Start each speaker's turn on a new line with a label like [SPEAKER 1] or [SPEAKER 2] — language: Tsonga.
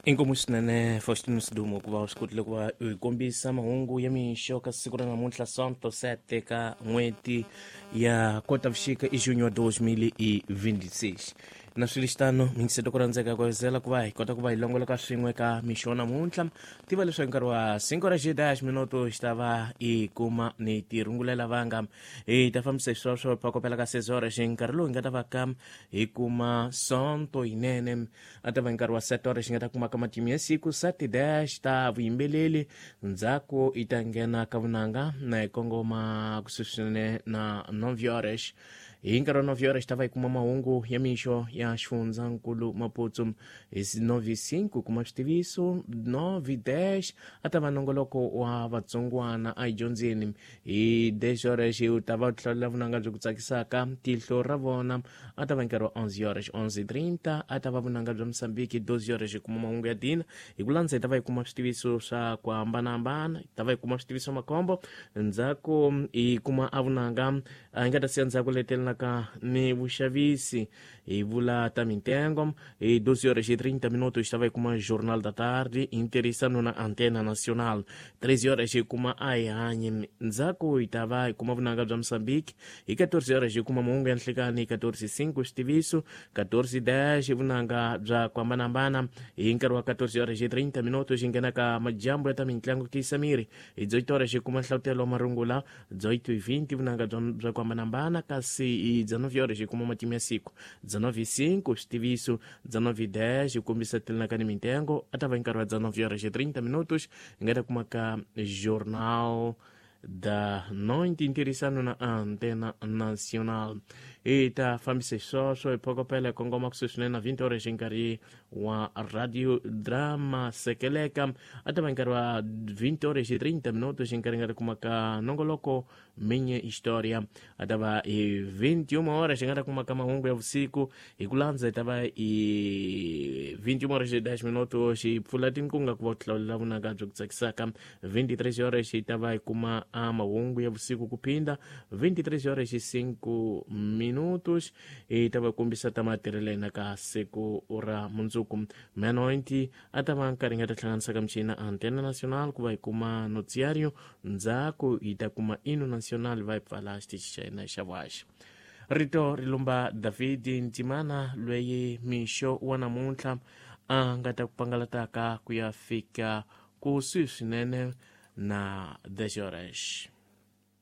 [SPEAKER 1] Inkomu swinene Faustino Sidumo ku va u swi kotile ku va u hi kombisa mahungu ya mixo ka siku ra namuntlha Sonto 7 ka n'hweti ya Kotavuxika i junho 2026. Na swi lexitano mingiseto ku rhandzeka ku ezela ku va hi kota ku va hi longoloka swin'we ka mixo namuntlha. Tiva leswaku nkarhi wa 5 horas e 10 minuto xi ta va hi kuma ni tirungulela vanga hi ta fambisa xisweswo phakopela ka 6 horas nkarhi lowu hi nga ta va ka hi kuma Sonto yinene. A ta va nkarhi wa 7 horas xi nga ta kuma ka matimu ya siku 7 dash ta vuyimbeleri ndzhaku yi ta nghena ka vunanga na hi kongoma kusuhi swinene na 9 horas. Hi nkarhi wa 9 horas ta va hi kuma mahungu ya mixo ya xifundzankulu Maputo. Hi 9:05 kuma switiviso 9 dash a ta va nongoloko wa vatsongwana a hi dyondzeni. Hi 10 horas u ta va u hlawulela vunanga byo ku tsakisaka tihlo ra vona. A ta va nkarhi wa 11 horas 11:30 a ta va vunanga bya Mosambiki. 12 horas hi kuma mahungu ya dina. Hi ku landza hi ta va hi kuma switiviso swa ku hambanahambana, hi ta va hi kuma switiviso makhombo. Ndzhaku hi kuma a vunanga a hi nga ta siya ndzhaku letelelaka ni vuxavisi hi vula ta mintengo. Hi 12 horas e 30 minutos hi ta va hi kuma Jornal da Tarde hi ntirhisano na Antena Nacional. 13 horas hi kuma a hi hanyi. Ndzhaku hi ta va hi kuma vunanga bya Mosambiki. Hi 14 horas hi kuma mahungu ya nhlikani. Hi 14:05 switiviso 14:10 vunanga bya ku hambanahambana. Hi nkarhi wa 14 horas e 30 minutos hi nghena ka majambu ya ta mintlangu tiyisa miri. Hi 18 horas hi kuma nhlavutelo wa marungula. 18:20 vunanga bya ku hambanahambana. Kasi hi 19 horas hi kuma matimu ya siku. 19:05 switiviso 19:10 hi kombisa telenaka ni mintengo. A ta va hi nkarhi wa 19 horas e 30 minutos hi nga ta kuma ka Jornal da Noite ntirhisano na Antena Nacional. Hi ta fambisa xisweswo hi phokopela hi kongoma kusuhi swinene na 20 horas hi nkarhi wa Radio Drama Sekeleka. A ta va nkarhi wa 20 horas e 30 minutos hi nkarhi nga ta kuma ka nongoloko Minha História. A ta va hi 21 horas hi nga ta kuma ka mahungu ya vusiku. Hi ku landza hi ta va hi 21 horas e 10 minutos hi pfula tinkunga ku va u hlawulela vunanga byo ku tsakisaka. 23 horas hi ta va hi kuma a mahungu ya vusiku ku phinda. 23 horas e 5 minutos hi ta va kombisa ta matirhelo yena ka siku ra mundzuku. Meia-noite a ta va nkarhi nga ta hlanganisa ka michini na Antena Nacional ku va hi kuma noticiario. Ndzhaku hi ta kuma Hino Nacional va hi pfala xitichi xa hina xa vuhaxi. Rito ri lumba David Ntimana lweyi mixo wa namuntlha a nga ta ku pangalataka ku ya fika kusuhi swinene na 10 horas.